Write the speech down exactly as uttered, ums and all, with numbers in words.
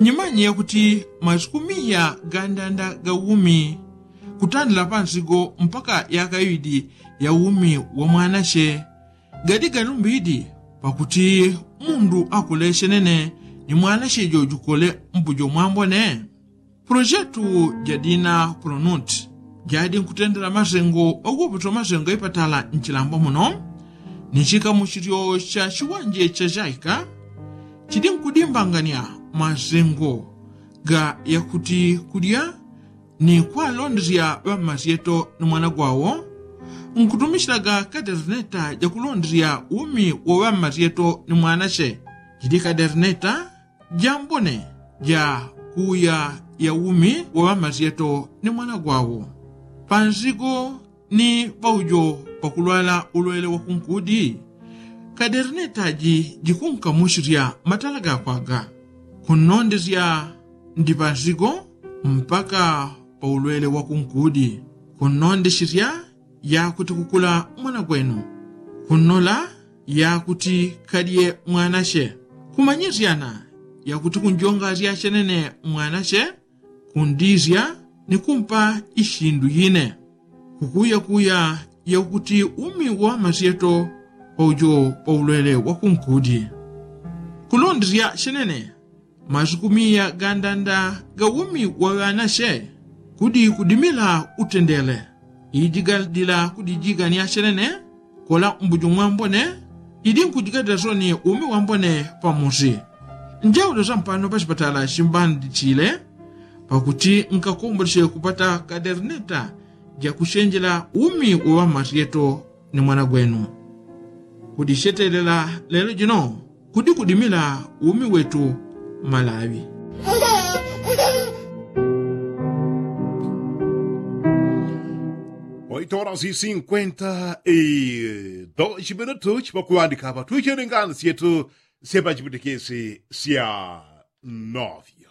Nyimanye yakuti masiku miya gandanda ga umi kutandila pansigo mpaka yaka iwidi ya umi wa mwanache gadi galumbidi pakuti mundu akule chenene ni mwanache jojukole mbujo mwambone. Pulojetu jadina pulonuti jadi nkutendela masengo oguputo masengo ipatala nchilambo muno ni chikamuchilyo cha chiwanje cha chaika chidi nkudimbangania masengo ga yakuti kudya ni kwalondesya ŵammasyeto ni mwana gwawo nkutumishilaga kaderneta jakulondesya umi wo ŵammasyeto ni mwanache jidi kaderneta jambone ja kuya ya umi wa ŵamasyeto ni mwana gwawo pansigo ni paujo pakulwala ulwele wa kunkudi. Kaderneta ji jikunkamuchilya matala gakwaga kunnondesya ndi pansigo mpaka pa ulwele wa kunkudi kunnondeshelya yakuti kukula mwana gwenu kunnola yakuti kadye mwanache kumanyisyana yakuti kunjongasya chenene mwanache kundisya ni kumpa ishindu yine kukuyakuya yakuti umi wa masyeto paujo pa ulwele wa kunkudi kulondesya chenene masiku miya gandanda ga umi wa ŵanache kudi kudimila utendele iji gadila kudijigania chenene kola mbujo mwambone idi nkujigadila soni umi wambone pamusi. Njaulo sampano pachipatala chimbanditile pakuti nkakomboleche kupata kaderneta jakuchenjela umi wa ŵamasyeto ni mwana gwenu kudishetelela lelo jino kudi kudimila umi wetu malawi. Oito horas e cinquenta e dois minutos pakuwandika apa tuichele ngani syetu sepa chipitikisi sya novyo.